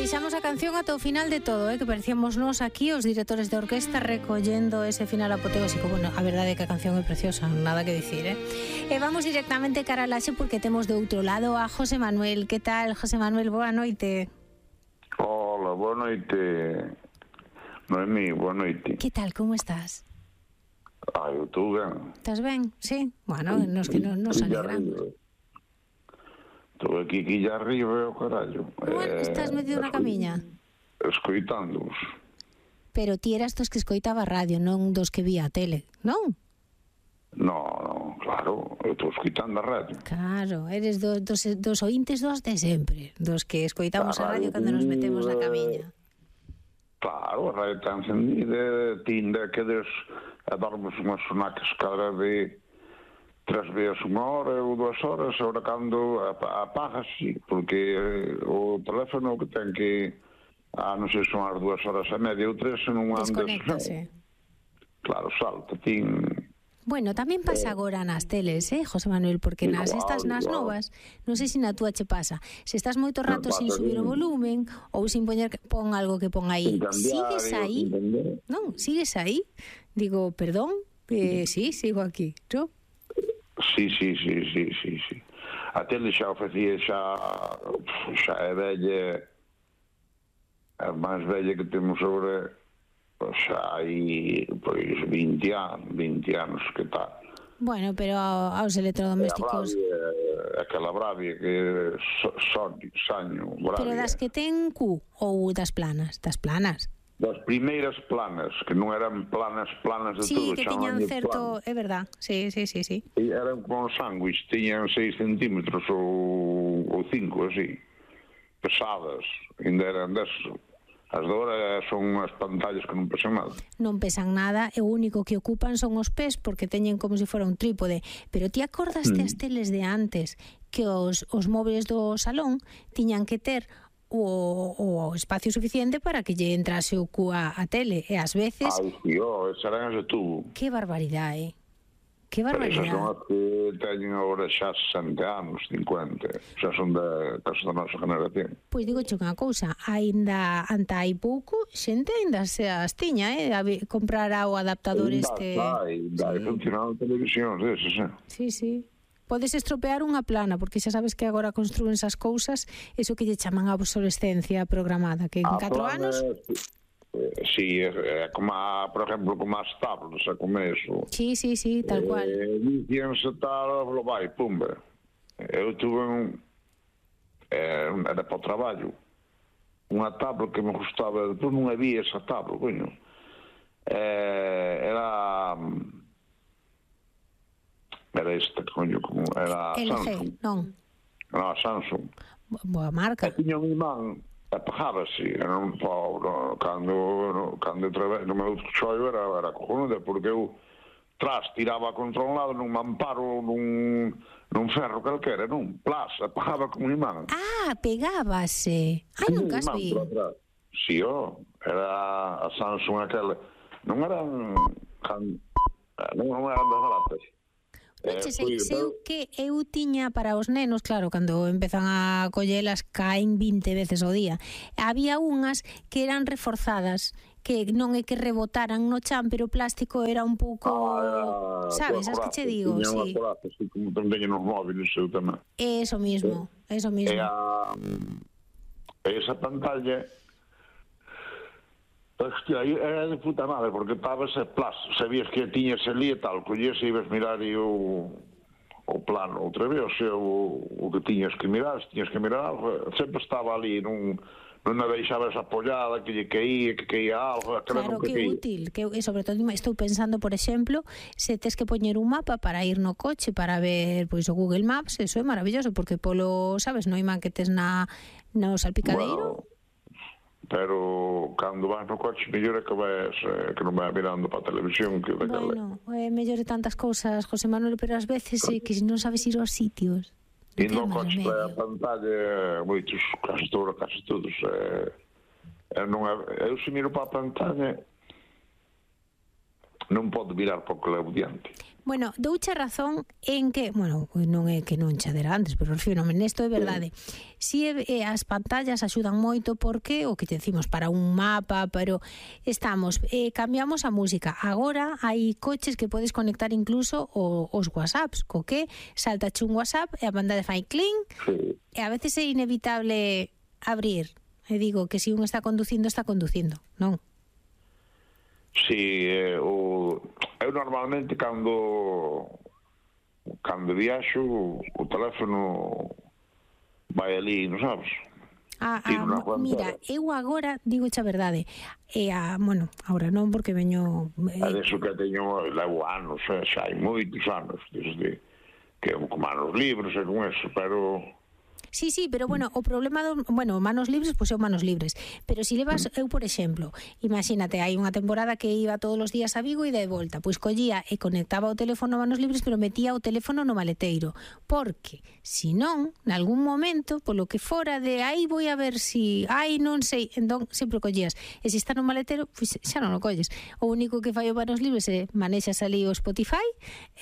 deixamos a canción ata o final de todo, que parecíamos nós aquí, os directores de orquesta, recollendo ese final apoteósico. Bueno, a verdade é que a canción é preciosa, nada que dicir, E vamos directamente cara a Laxe porque temos do outro lado a José Manuel. Que tal, José Manuel? Boa noite. Hola, boa noite. Noemí, boa noite. Que tal, como estás? Eu estou ben. Estás ben? Sí? Bueno, nos que nos alegramos. Estou aquí quilla arriba, carallo. Bueno, estás metido na camiña? Escoitándoos. Pero ti eras dos que escoitaba a radio, non dos que vía a tele, non? No, claro, eu estou escoitando a radio. Claro, eres dos ointes dos de sempre, dos que escoitamos a radio cando nos metemos na camiña. Claro, a radio está encendida, tinda que dormes unhas sonacas cada vez 3 veces 1 hora ou 2 horas, ahora cando apagas, sí, porque o teléfono que ten que, non sei, son as 2 horas e media ou 3, non andas... Desconéctase. Claro, salta, tin... Bueno, tamén pasa agora nas teles, José Manuel, porque nas estas nas novas, non sei se na túa che pasa, se estás moito rato sin subir o volumen ou sin pon algo que pon aí, sigues aí? Non, sigues aí? Digo, perdón, sí, sigo aquí, ¿no? Sí. A tele xa o facía, xa é vella, a máis vella que temos agora, xa hai, pois, 20 anos que tal. Bueno, pero aos electrodomésticos... Aquela Bravia que saño, Bravia. Pero das que ten Q ou das planas? Das planas. Das primeiras planas, que non eran planas de sí, todo. Sí, que tiñan certo... É verdad, sí. E eran como sándwich, tiñan 6 centímetros ou 5, así. Pesadas, ainda eran deso. As de agora son unhas pantallas que non pesan nada. Non pesan nada, e o único que ocupan son os pés, porque teñen como se fora un trípode. Pero ti acordaste as teles de antes, que os móviles do salón tiñan que ter o espacio suficiente para que lle entrase o cu a tele, e ás veces... Esas eran as de tubo. Que barbaridade, Que barbaridade. Pero esas son as que teñen agora xa 60 anos, 50, xa son da nosa generación. Pois digo unha cousa, aínda anta hai pouco, xente aínda se as tiña, comprara o adaptador este... Dai, funcionando televisións desas, Sí. Podes estropear unha plana, porque xa sabes que agora construen esas cousas, eso que lle chaman a obsolescencia programada, que en 4 anos... Sí, como por exemplo, como as tablets, como eso. Sí, tal cual. Dicíanse tal, vai, pumba. Eu tuve era para o traballo, unha tablet que me gustaba, depois non había esa tablet, coño. Era esta, coño, como era LG, non? Non, Samsung. Boa marca. Tiña un imán, apagábase, era un pobre, cando no meu choio era cojonuda, porque eu tiraba contra un lado nun mamparo, nun ferro calquera, nun plas, apagaba con un imán. Pegábase. Nunca as vi. Si, era a Samsung aquela, non eran das baratas. Eu tiña para os nenos, claro, cando empezan a collelas caen 20 veces ao día. Había unhas que eran reforzadas, que non é que rebotaran no chan, pero o plástico era un pouco, sabes, as que che digo, sí. Como teñen os móviles, eu tamén. Eso mismo. Esa pantalla, hostia, era de puta madre, porque estabas sabías que tiñas ali e tal, collías e ibas mirar e o plano outra vez, o que tiñas que mirar, se tiñas que mirar algo, sempre estaba ali, non a deixabas apoiada, que lle caía algo, claro, que é útil, e sobre todo estou pensando, por exemplo, se tes que poñer un mapa para ir no coche, para ver pois o Google Maps, eso é maravilloso, porque polo, sabes, no imán que tes no salpicadeiro. Bueno, pero cando vas no coche mellor é que non vai mirando para a televisión que bueno, é mellor de tantas cousas, José Manuel, pero ás veces que non sabes ir aos sitios e no coche a pantalla moitos, casi todos eu se miro para a pantalla non podo mirar para o que levo diante. Bueno, douche razón en que, bueno, non é que non che dera antes, pero refírome nesto é verdade. Si as pantallas axudan moito porque o que te decimos para un mapa, pero cambiamos a música. Agora hai coches que podes conectar incluso os WhatsApps, co que saltache un WhatsApp e a pantalla fai cling, e a veces é inevitable abrir. E digo que se un está conducindo, non? Si, eu normalmente cando viaxo o teléfono vai ali, non sabes? Mira, eu agora digo a verdade. Bueno, agora non porque veño... Adesso que teño levo anos, xa hai moitos anos, desde que con manos libres e con eso, pero... Sí, pero bueno, o problema manos libres, pois é manos libres. Pero se levas, eu por exemplo, imagínate, hai unha temporada que iba todos os días a Vigo e de volta, pois collía e conectaba o teléfono a manos libres, pero metía o teléfono no maleteiro, porque se non, nalgún momento, polo que fora de aí vou a ver si, non sei, entón sempre collías. E se está no maleteiro, pois xa non o colles. O único que fai o manos libres é manexas ali o Spotify,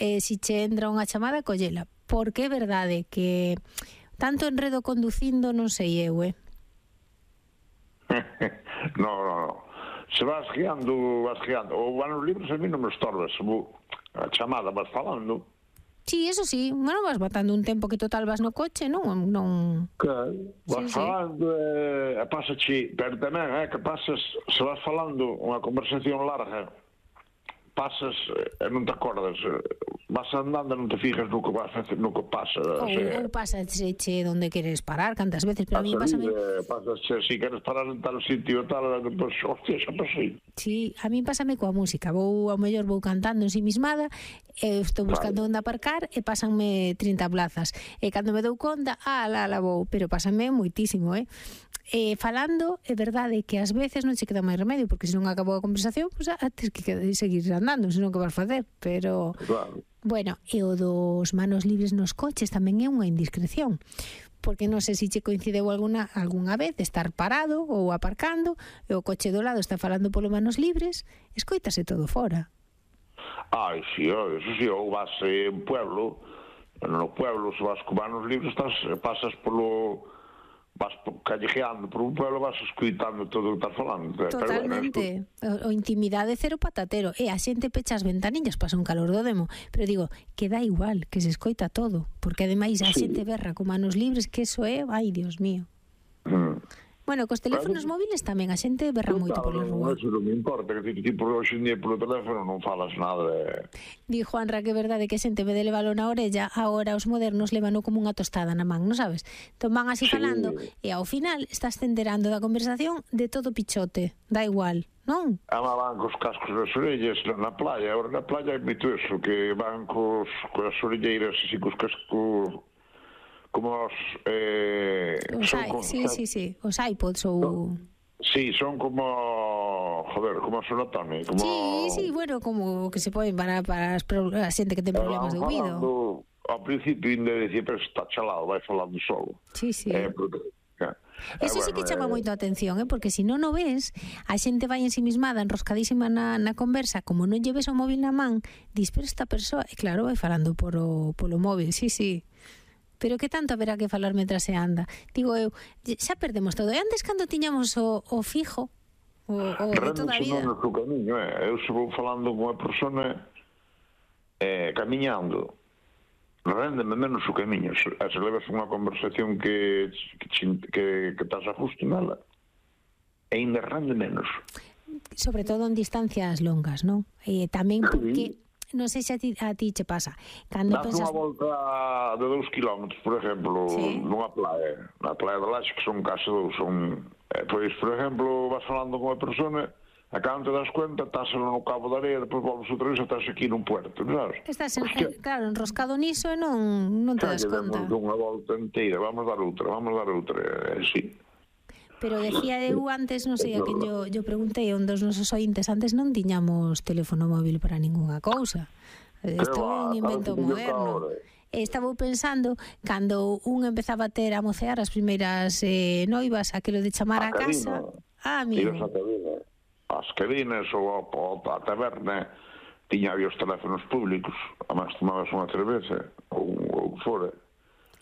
e se che entra unha chamada, collela. Porque é verdade que tanto enredo conducindo non sei eu, No. Se vas guiando. O manos libres a mí non me estorbas. A chamada vas falando. Sí, eso sí. Bueno, vas batando un tempo que total vas no coche, non... Claro, vas falando e pasache, pero tamén que pasas, se vas falando unha conversación larga, pasas e non te acordas, vas andando e non te fijas no que pasa. Ou pasache onde queres parar, cantas veces, pero a mí pásame... Pasache, si queres parar en tal sitio e tal, pues, hostia, xa pasei. Sí, a mí pásame coa música, ao mellor vou cantando ensimismada, estou buscando onde aparcar e pásanme 30 plazas, e cando me dou conta, la vou, pero pásame moitísimo, falando, é verdade que ás veces non se queda máis remedio, porque se non acabou a conversación, pues, tens que seguir andando, senón que vas facer, pero... Claro. Bueno, e o dos manos libres nos coches tamén é unha indiscreción, porque non sei se che coincideu algunha vez estar parado ou aparcando e o coche do lado está falando polo manos libres, escoítase todo fora. Sí, eso sí, ou vas en pueblo, no pueblo se vas con manos libres pasas vas callejeando por un pueblo, vas escoitando todo o que estás falando. Totalmente. O intimidade cero patatero. E a xente pecha as ventanillas, pasa un calor do demo. Pero digo, que dá igual, que se escoita todo. Porque ademais a xente berra con manos libres, que eso é, ai, Dios mío. Bueno, cos teléfonos móviles tamén a xente berra moito pola rúa. Eso non me importa, que ti por hoxe en día polo teléfono non falas nada de... Di Juanra que é verdade que a xente, en vez de levalo na orella, agora os modernos levano como unha tostada na man, non sabes? Entón van así falando e ao final estás enterando da conversación de todo pichote, da igual, non? Van cos cascos nas orellas na playa, agora na playa é mito eso, que van coas orelleiras así cos cascos... como os... Sí, os iPods ou... Sí, son como... Joder, como a Sonatone. Sí, bueno, como que se poden para a xente que ten problemas de ouvido. Ao principio ainda dicía, pero está chalado, vai falando solo. Sí. Eso sí que chama moito a atención, porque se non o ves, a xente vai ensimismada, enroscadísima na conversa, como non lleves o móvil na man, dis, pero esta persoa, e claro, vai falando polo móvil, sí. Pero que tanto haberá que falar mentras se anda? Digo eu, xa perdemos todo. E antes cando tiñamos o fijo, o de toda a vida... Non no camiño, eu se vou falando con a persona camiñando, rendeme menos o camiño. Se levas unha conversación que estás a justo nela, ainda rende menos. Sobre todo en distancias longas, non? E tamén porque... Non sei se a ti che pasa. Cando das unha volta de 2 kilómetros, por exemplo, nunha playa, na playa de Laxe, que son case 2, pois, por exemplo, vas falando con a persona, a cando te das cuenta, estás no cabo da areia, depois volves outra vez, estás aquí nun puerto, sabes? Estás, claro, enroscado niso e non te das conta. Demos unha volta inteira, vamos dar outra, sí. Pero decía eu antes, non sei a quen yo preguntei, un dos nosos ointes, antes non tiñamos teléfono móvil para ningunha cousa. Isto é un invento moderno. Estaba pensando, cando un empezaba a mocear as primeiras noivas, aquilo de chamar a casa... amigo. As cabinas ou a taberna, tiña había os teléfonos públicos, además tomabas unha cerveza ou fora.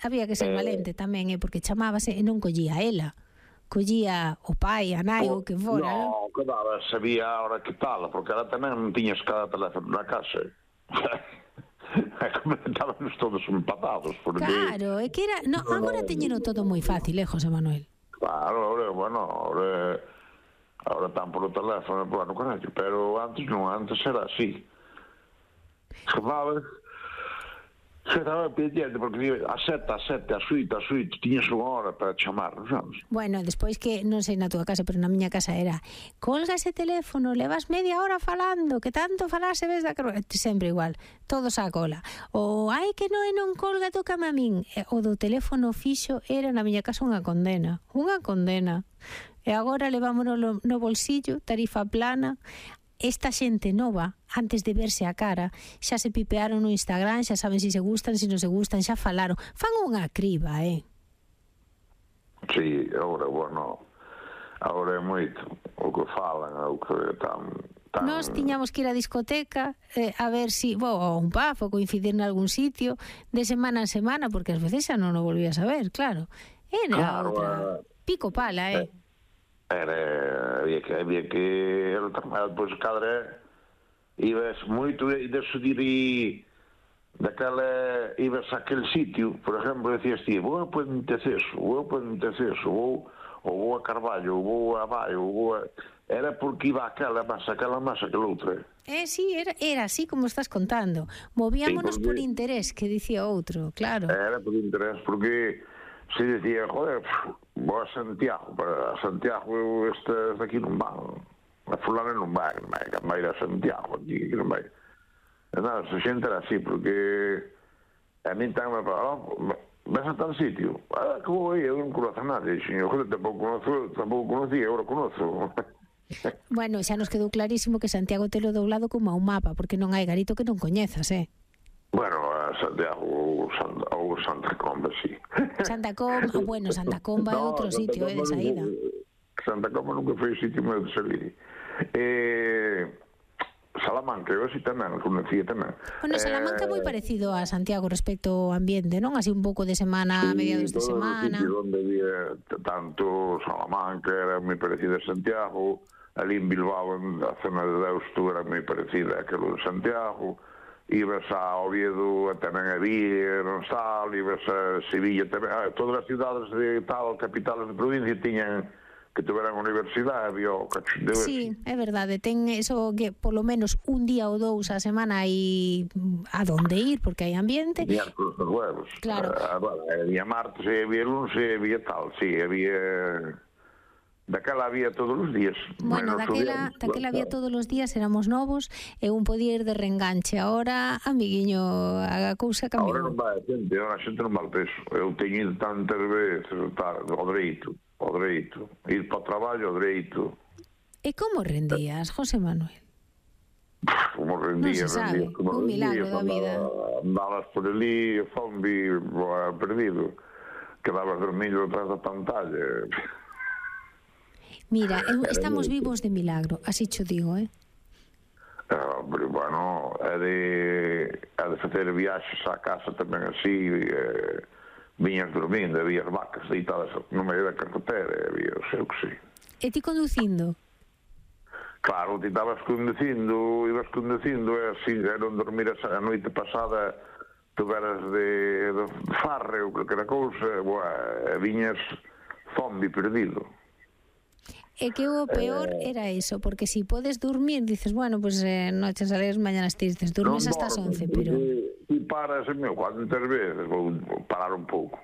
Había que ser valente tamén, porque chamábase e non collía ela. Collía o pai, a nai, ou que fora. Non, quedaba, sabía a hora que tal, porque ela tamén non tiñas cada teléfono na casa. Estábamos todos empatados. Porque... Claro, é que era... No, agora teñeno todo moi fácil, José Manuel? Claro, ahora están polo teléfono, bueno, carallo, pero antes non, antes era así. Chamabas... Se estaba pendiente, porque a sete, a suite, tiñas unha hora para chamar, sabes? Bueno, despois que, non sei na túa casa, pero na miña casa era colga ese teléfono, levas media hora falando, que tanto falase ves da carroza, sempre igual, todos á cola. O, ai, que non colga, tócame a min. O do teléfono fixo era na miña casa unha condena. E agora levámonos no bolsillo, tarifa plana. Esta xente nova, antes de verse a cara, xa se pipearon no Instagram, xa saben se gustan, se non se gustan, xa falaron. Fan unha criba, Sí, agora é moito o que falan, o que tan... Nós tiñamos que ir á discoteca a ver si, ou un pub, ou coincidir en algún sitio, de semana en semana, porque ás veces xa non o volvías a ver, claro. Era outra... Pico pala, había que pois cadra ibas moito de subir daquela ibas a aquel sitio, por exemplo, decías ti, vou a Ponteceso, ou vou a Carballo, ou vou a Baio, era porque iba aquela masa, aquela outra. Sí, era así como estás contando. Movíamonos por interés, que dicía outro, claro. Era por interés, porque se dicía, joder, vou a Santiago, para Santiago estes daqui non van, a fulana non vai ir a Santiago, aquí non vai. Nada, a xente era así, porque a min tan me paraba, vas a tal sitio, que vou aí, eu non conozo a nadie, xeño, joder, tampouco conocía, agora conozo. Bueno, xa nos quedou clarísimo que Santiago telo doblado como a un mapa, porque non hai garito que non coñezas, Bueno, a Santiago ou Santa Comba, sí. Santa Comba é outro sitio, de saída. Santa Comba nunca foi sitio meu de salir. Salamanca, eu así tamén, conocía tamén. Bueno, Salamanca é moi parecido a Santiago respecto ao ambiente, non? Así un pouco de semana, mediados de semana. Sí, onde había tanto Salamanca, era moi parecida a Santiago, ali en Bilbao, a zona de Deusto, era moi parecida a aquilo de Santiago. Ibas a Oviedo, tamén había, non Sal, ibas a Sevilla tamén, todas as cidades de tal, capitales de provincia tiñan que tuveran universidade, había o cachondeo. Sí, é verdade, ten eso que polo menos un día ou dous a semana hai a donde ir, porque hai ambiente. Miércoles dos huevos. Claro. Había martes, había lunes, había tal, sí, había... Daquela había todos os días. Bueno, daquela había todos os días, éramos novos, e un podía ir de reenganche. Ahora, amiguiño, a cousa cambiou. Ahora non vai a xente non vai peso. Eu teño ido tantas veces, ao dereito, ir para o traballo ao dereito. E como rendías, José Manuel? Como rendía, non se sabe, un milagro da vida. Andabas por ali, zombi, perdido. Quedabas dormido detrás da pantalla. Mira, estamos vivos de milagro, así cho digo, Pero, bueno, é de facer viaxes á casa tamén así, viñas dormindo, había vacas deitadas no medio da carretera, había o seu que sí. E ti conducindo? Claro, ti ibas conducindo, e así, non dormir a noite pasada, tuveras de farre ou calquera cousa, viñas zombi perdido. É que o peor era eso, porque si podes dormir, dices, bueno, pues noches alegres, mañanas tristes, durmes hasta as 11, pero... Ti paras, cuantas veces, vou parar un pouco.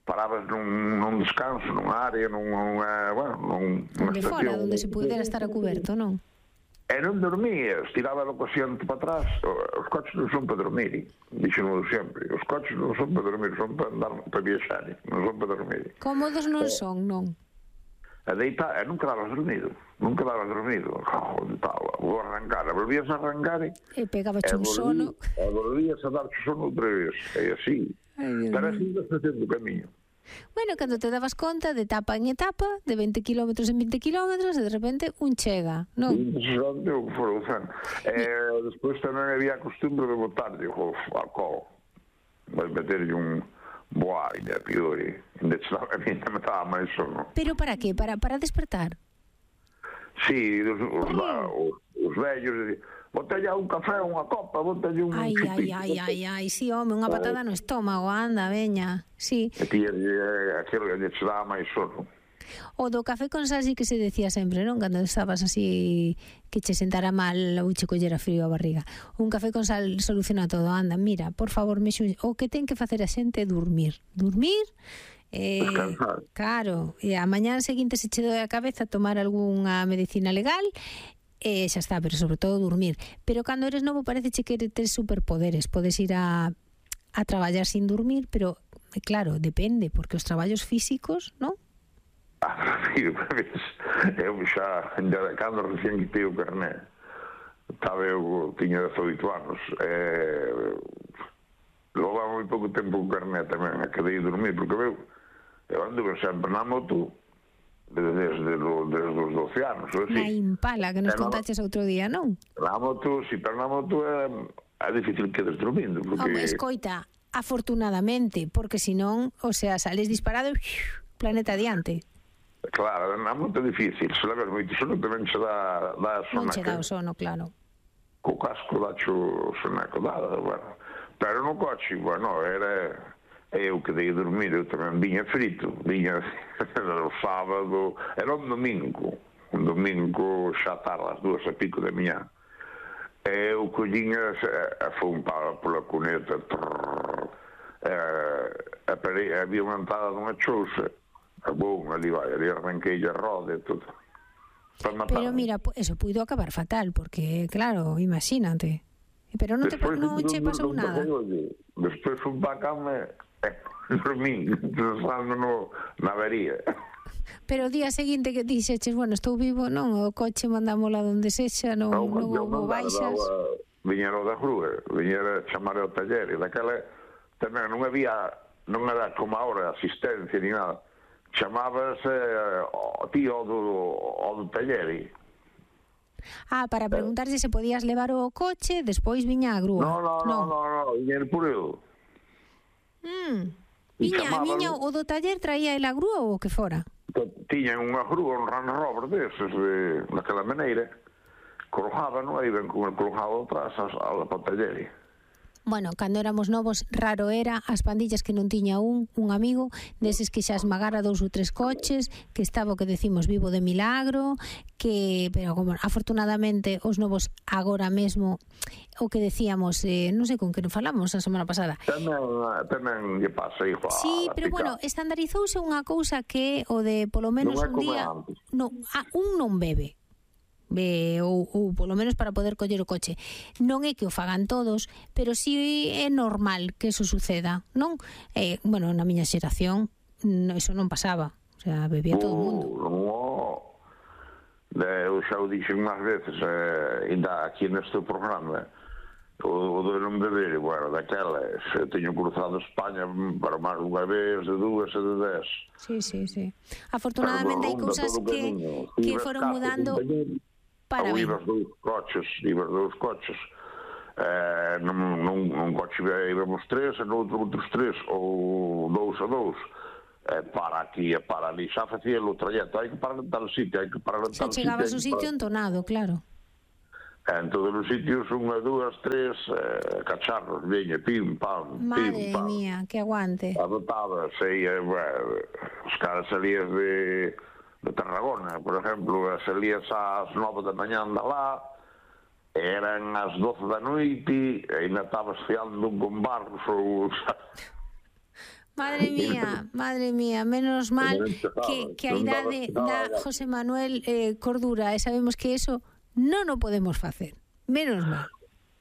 Parabas nun descanso, nunha área, nunha onde fora, onde se pudera estar a cuberto, non? E non dormías, tiraba o cosiente para atrás. Os coches non son para dormir, dixo-no sempre. Os coches non son para dormir, son para andar, para viaxar, non son para dormir. Cómodos non son, non? A deitar, non quedabas dormido. Vou arrancar, volvías a arrancar e pegabas un sono. E volvías a dar sono outra vez, e así. Pero así vas facendo o camiño. Bueno, cando te dabas conta de etapa en etapa, de 20 kilómetros en 20 kilómetros, e de repente un chega, non? Despois tamén había a costumbre de botar, digo, alcohol. Vai meterlle un boaña, piori. De hecho, a mí me estaba máis sono. Pero para qué? Para despertar? Sí, os vellos, botella un café, unha copa, botella un chupito. Ai, sí, home, unha patada no estómago, anda, veña, sí. E ti, aquilo que se daba máis sono. O do café con sal sí que se decía sempre, non? Cando estabas así que che sentara mal ou che collera frío a barriga. Un café con sal soluciona todo, anda, mira, por favor, o que ten que facer a xente é dormir. Dormir, claro, e a mañá seguinte se che doe a cabeza tomar algunha medicina legal, xa está, pero sobre todo dormir. Pero cando eres novo parece que tes superpoderes, podes ir a traballar sin dormir, pero claro, depende, porque os traballos físicos, non? Eu xa, cando recién quitei o carné, tiña 18 anos, levaba moi pouco tempo o carné tamén, a quedei dormir, porque eu anduve sempre na moto desde os 12 anos. Na Impala, que nos contaches outro día, non? Na moto, si, pero na moto é difícil que quedes dormindo. Home, escoita, afortunadamente, porque senón, o sea, sales disparado e planeta adiante. Claro, na moto é difícil, se leves moito sono tamén se dá sonaco. Non che dá o sono, claro. Co casco dacho sonaco, bueno. Pero no coche, bueno, era eu que dei dormir, eu tamén viña frito, viña o sábado, era un domingo xa tarde, as 2:00 da mañá. Eu colliña, foi un palo pola cuneta, había unha entrada dunha chousa, ali arranquei a roda e todo. Pero mira, eso puido acabar fatal, porque, claro, imagínate. Pero non che pasou nada. Despois fui para a cama dormín, pensando na avería. Pero o día seguinte que dixeches, bueno, estou vivo, non? O coche mandámola donde sexa, non houve baixas. Viñeron da grúa, viñera chamar ao taller, e daquela tamén non era como agora asistencia ni nada. Chamábase o tío do taller. Para preguntarse se podías levar o coche, despois viña a grúa. Non, viñera por eu. Viña o do taller traía el a grúa ou o que fora? Tiñan unha grúa, un Range Rover deses, daquela maneira, colojaban, aí ven con el colojado atrás ao taller. Bueno, cando éramos novos, raro era as pandillas que non tiña un amigo deses que xa esmagara 2 ou 3 coches, que estaba o que decimos vivo de milagro, pero como afortunadamente os novos agora mesmo, o que decíamos, non sei con que non falamos a semana pasada. Tamén lle pasa igual. Sí, pero bueno, estandarizouse unha cousa que o de polo menos un día un non bebe. Ou polo menos para poder coller o coche. Non é que o fagan todos, pero si é normal que eso suceda, non? Bueno, na miña xeración eso non pasaba, o sea, bebía todo o mundo. Eu xa o dixen unhas veces, ainda aquí neste programa, o de non beber, bueno, daquelas, teño cruzado España para máis unha vez, de 2 e de 10. Sí. Afortunadamente hai cousas que foron mudando para ben. Iba os coches, nun coche íbamos 3, e noutro outros 3, ou 2 a 2, para aquí e para ali, xa facía o trayecto, hai que parar en tal sitio, hai que parar en tal sitio. Xa chegabas ao sitio entonado, claro. En todos os sitios, 1, 2, 3 cacharros, veña, pim, pam, pim, pam. Madre mía, que aguante. Adotaba, os caras salías de Tarragona, por exemplo, salías ás 9 da mañá de lá, eran ás 12 da noite, e ainda estabas fiando con barros ou... Madre mía, menos mal que a idade da José Manuel cordura, e sabemos que eso non o podemos facer, menos mal.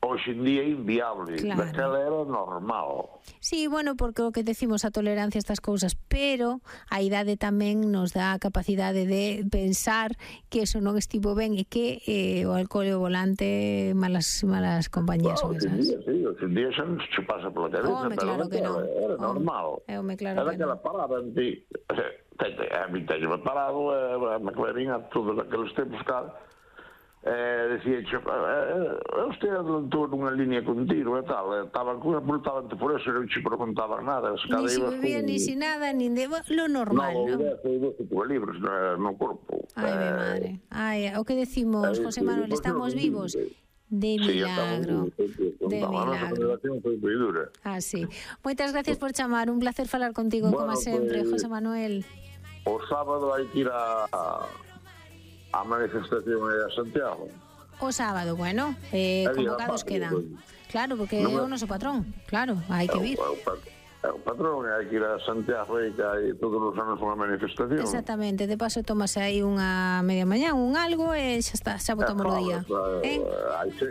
hoxe en día é inviable. Claro. Daquela era normal. Sí, bueno, porque o que decimos a tolerancia a estas cousas, pero a idade tamén nos dá a capacidade de pensar que eso non estivo ben e que o alcohol e o volante malas compañías son esas. Hoxe en día xa non se pasa pola cabeza, pero claro que non. Era normal. Claro era que aquela parada en ti. A mí teño parado, me clarín a todos aqueles tempos, decía, usted adelantou nunha línea contigo e tal, estaban multavante por eso, non se preguntaban nada. Ni si bebía, ni si nada, ni de lo normal, non? Non, 12 libros no corpo. Ai, mi madre. Ai, o que decimos, José Manuel, estamos vivos? De milagro. De milagro. Sí. Moitas gracias por chamar, un placer falar contigo, como sempre, José Manuel. O sábado hai que ir a manifestación a Santiago. O sábado, bueno, convocados quedan. Claro, porque é o noso patrón. Claro, hai que vir. O patrón, hai que ir a Santiago e que hai todos os anos unha manifestación. Exactamente, de paso tomase aí unha media mañá, un algo e xa está, xa botamos o día.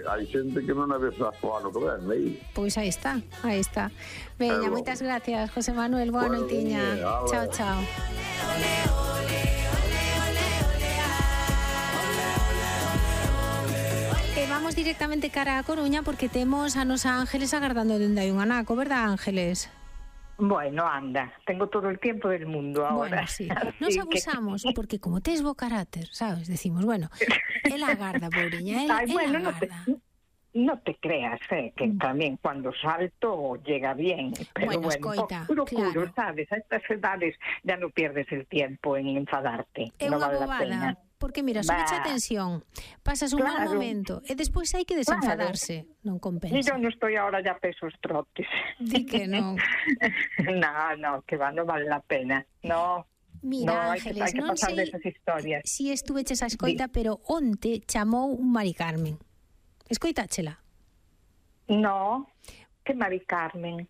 Hai xente que non a ves o ano que ven, aí. Pois aí está, aí está. Veña, moitas gracias, José Manuel, boa noitiña. Chao, chao. Vamos directamente cara a Coruña porque temos a nosa Ángeles agardando dende aí un anaco, verdad, Ángeles? Bueno, anda, tengo todo el tiempo del mundo ahora. Bueno, sí, nos abusamos porque como tes bo carácter, sabes, decimos, bueno, él agarda, pobriña, él agarda. No te creas, que también cuando salto llega bien, pero bueno, escoita, procuro, sabes, a estas edades ya no pierdes el tiempo en enfadarte, no vale la pena. Porque mira, súbete a tensión, pasas un mal momento e despois hai que desenfadarse, non compensa. E yo non estou ahora ya pesos trotes. Di que non. No, que no vale la pena, no. Mira, Ángeles, non sei si estuveches a escoita, pero onte chamou un Mari Carmen. Escoitáchela? No, que Mari Carmen?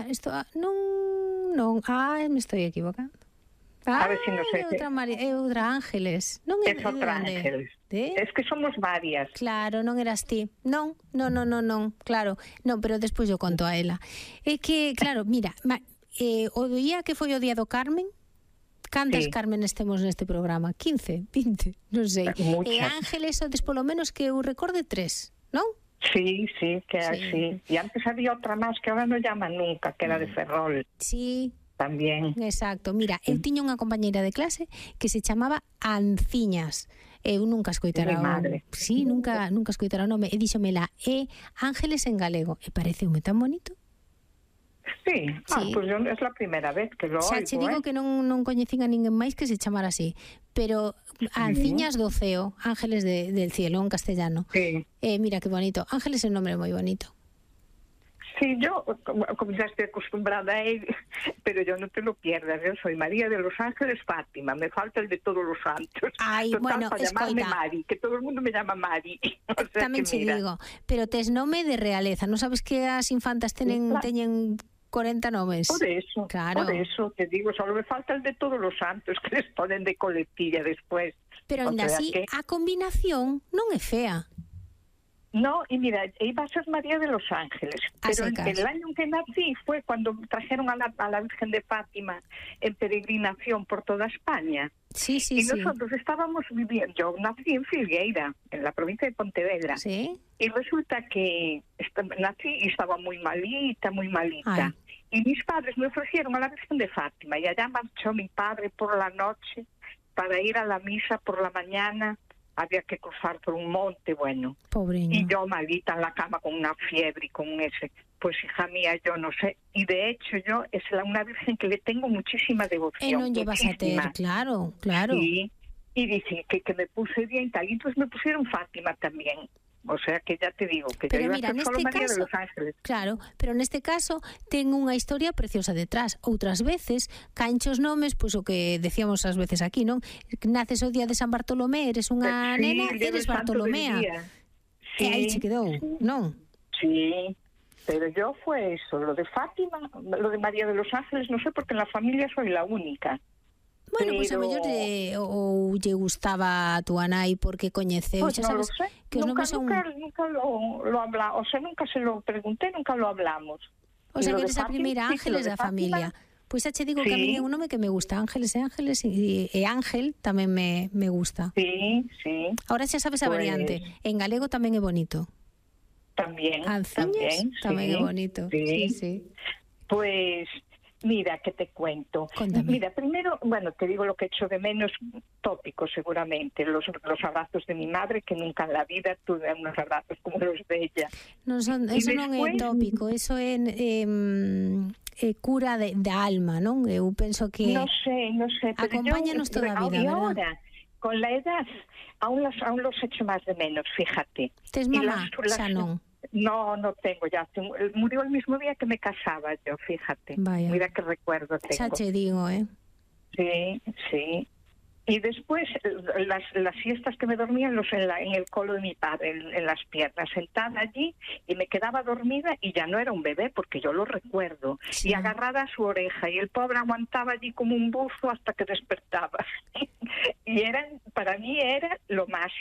Isto, non, me estou equivocando. A ver si no sé. É outra Ángeles. Non é outra Ángeles. Es que somos varias. Claro, non eras ti. Non, claro. Non, pero despois eu conto a ela. É que, claro, mira, o día que foi o día do Carmen, cantas Cármenes temos neste programa? 15, 20, non sei. E Ángeles, sodes polo menos que eu recorde 3, non? Sí, que así. E antes había outra máis que ahora non llaman nunca, que era de Ferrol. Sí. También. Exacto. Mira, eu tiña unha compañeira de clase que se chamaba Anciñas. Eu nunca escoitara Sí, nunca escoitara o nome. E díxomela, Ángeles en galego. E pareceume tan bonito. Sí. Pues é a primeira vez que lo oigo. Xa che digo que non coñecín a ninguén máis que se chamara así. Pero Anciñas do ceo, Ángeles del cielo, en castellano. Sí. Mira que bonito. Ángeles é un nombre moi bonito. Sí, yo, como ya estoy acostumbrada a él, pero yo no te lo pierdas, yo soy María de los Ángeles Fátima, me falta el de todos los santos. Ay, total, bueno, para llamarme Mari, que todo el mundo me llama Mari. O sea, tamén che digo, pero tes nome de realeza, non sabes que as infantas teñen 40 nomes? Por eso, claro. Por eso te digo, solo me falta el de todos los santos, que les ponen de coletilla después. Pero ainda así, a combinación non é fea. No, y mira, iba a ser María de los Ángeles, pero el año en que nací fue cuando trajeron a la Virgen de Fátima en peregrinación por toda España. Sí. Y nosotros estábamos viviendo, yo nací en Filgueira, en la provincia de Pontevedra. Sí. Y resulta que nací y estaba muy malita. Ay. Y mis padres me ofrecieron a la Virgen de Fátima y allá marchó mi padre por la noche para ir a la misa por la mañana. Había que cruzar por un monte, bueno. Pobreño. Y yo malita en la cama con una fiebre y con ese. Pues hija mía, yo no sé. Y de hecho yo es una virgen que le tengo muchísima devoción. No llevas a tener, claro. Sí. Y dicen que me puse bien y tal. Y entonces me pusieron Fátima también. O sea que ya te digo que pero yo mira, iba a ser solo María de los Ángeles. Claro, pero neste caso ten unha historia preciosa detrás. Outras veces, canchos nomes, pois o que decíamos ás veces aquí, non? Naces o día de San Bartolomé, eres unha nena, eres Bartolomea. E aí che quedou, non? Sí, pero yo fue eso, lo de Fátima, lo de María de los Ángeles, no sé, porque en la familia soy la única. Bueno, pois a mellor ou lle gustaba a túa nai porque coñeceu, Pues xa sabes que os nomes son... Nunca lo hablamos, o sea, nunca se lo pregunté, nunca lo hablamos. O sea, que eres a primeira Ángeles da familia. Pois xa che digo que a mí é un nome que me gusta, Ángeles e Ángel tamén me gusta. Sí. Ahora xa sabes a variante, en galego tamén é bonito. Tamén é bonito. Sí. Pues mira, que te cuento. Cuéntame. Mira, primero, bueno, te digo lo que echo de menos, tópico seguramente, los abrazos de mi madre, que nunca en la vida tuve unos abrazos como los de ella. Eso non é tópico, eso é cura da alma, non? Eu penso que no sé, acompáñanos toda a vida, ¿verdad? Ahora, con la edad, aún los echo más de menos, fíjate. Tes mamá? Xa non. No tengo ya. Murió el mismo día que me casaba yo, fíjate. Vaya. Mira qué recuerdo tengo. Xa te digo, Sí. Y después las siestas que me dormía en el colo de mi padre, en las piernas, sentada allí, y me quedaba dormida y ya no era un bebé, porque yo lo recuerdo, sí. Y agarrada a su oreja, y el pobre aguantaba allí como un buzo hasta que despertaba. Y para mí era lo más.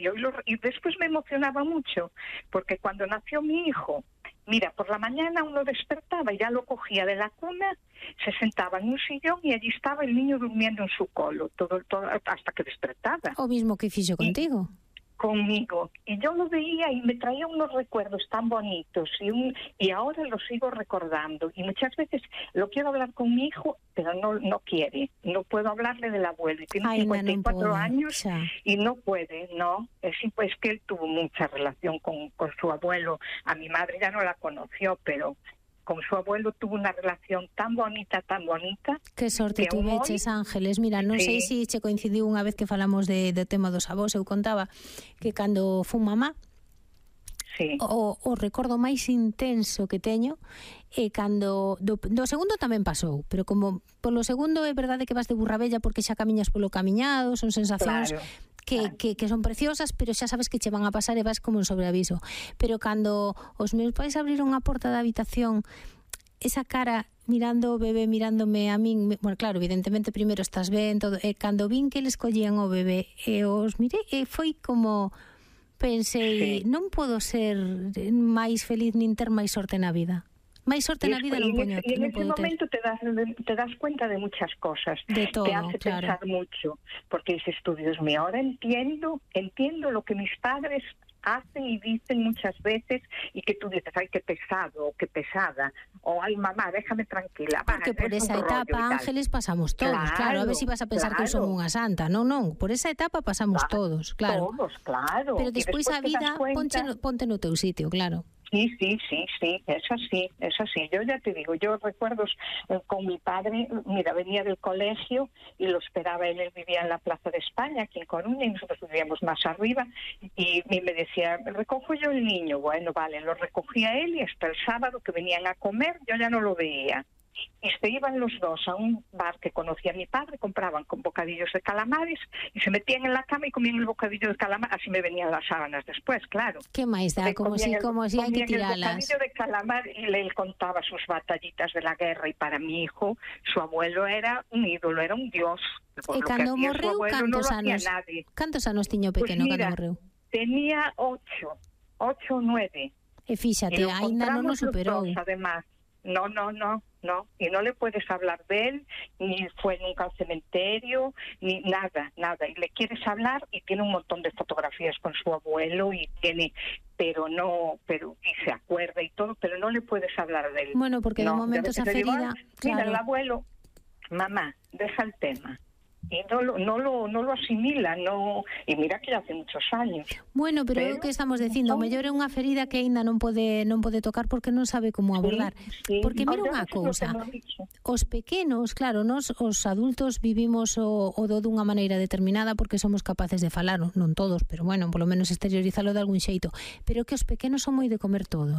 Y después me emocionaba mucho, porque cuando nació mi hijo, mira, por la mañana uno despertaba y ya lo cogía de la cuna, se sentaba en un sillón y allí estaba el niño durmiendo en su colo, todo hasta que despertaba. O mismo que fixo contigo. Conmigo. Y yo lo veía y me traía unos recuerdos tan bonitos y ahora lo sigo recordando. Y muchas veces lo quiero hablar con mi hijo, pero no quiere. No puedo hablarle del abuelo. Y tiene 54 años y no puede, ¿no? Es que él tuvo mucha relación con su abuelo. A mi madre ya no la conoció, pero con su abuelo tuvo una relación tan bonita. Que sorte que tuveches, Ángeles. Mira, non sei se che coincidiu unha vez que falamos do tema dos avós. Eu contaba que cando fun mamá, o recordo máis intenso que teño é cando do segundo tamén pasou, pero como polo segundo é verdade que vas de burra bella porque xa camiñas polo camiñado, son sensacións que son preciosas, pero xa sabes que che van a pasar e vas como en sobreaviso. Pero cando os meus pais abriron a porta da habitación, esa cara mirando o bebé, mirándome a min, bueno, claro, evidentemente primeiro estás ben, todo, e cando vin que eles collían o bebé e os mirei, e foi como pensei, non podo ser máis feliz nin ter máis sorte na vida. Máis sorte na vida non poño. Y en ese momento te das cuenta de muchas cosas. De todo, te hace pensar mucho. Porque dices tú, Dios mío, ahora entiendo lo que mis padres hacen y dicen muchas veces y que tú dices, ay, qué pesado o qué pesada. O ay, mamá, déjame tranquila. Porque por esa etapa, Ángeles, pasamos todos. Claro, a ver si vas a pensar que eu son unha santa. Non, por esa etapa pasamos todos, claro. Todos, claro. Pero despois a vida ponte no teu sitio, claro. Sí, es así. Yo ya te digo, yo recuerdos con mi padre, mira, venía del colegio y lo esperaba él vivía en la Plaza de España, aquí en Coruña, y nosotros vivíamos más arriba, y me decía, recojo yo el niño. Bueno, vale, lo recogía él y hasta el sábado que venían a comer, yo ya no lo veía. Y se iban los dos a un bar que conocía mi padre, compraban con bocadillos de calamares y se metían en la cama y comían el bocadillo de calamar, así me venían las sábanas después, claro. ¿Qué más da? Como si hay que tirarlas. El bocadillo de calamar y él contaba sus batallitas de la guerra y para mi hijo, su abuelo era un ídolo, era un dios. E cando morreu, cantos anos tiño pequeno cando morreu? Tenía 8 o 9. E fíxate, ainda non o superou. Además, no, y no le puedes hablar de él, ni fue nunca al cementerio, ni nada, y le quieres hablar y tiene un montón de fotografías con su abuelo y pero y se acuerda y todo, pero no le puedes hablar de él. Bueno, porque de momento esa ferida, mira, el abuelo, mamá, deja el tema. Y no lo asimila, y mira que ya hace muchos años. Bueno, pero é o que estamos dicindo, mellor é unha ferida que aínda non pode tocar porque non sabe como abordar. Porque mira unha cousa, os pequenos, claro, os adultos vivimos o do dunha maneira determinada porque somos capaces de falar, non todos, pero bueno, polo menos exteriorizalo de algún xeito, pero que os pequenos son moi de comer todo,